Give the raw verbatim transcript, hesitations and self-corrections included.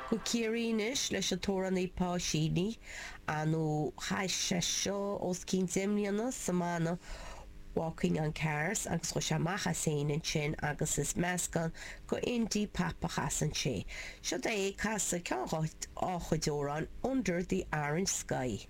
Go Ciarraí anois leis an t-amhránaí Pa Sheehy nó chas sé seo os cionn deich mbliana sa mbanna Walking on Cars agus chuaigh sé amach as féin ansin agus is meascán go indie pop a chasann sé. Seo é ag casadh ceann dá chuid amhrán Under the Orange Sky.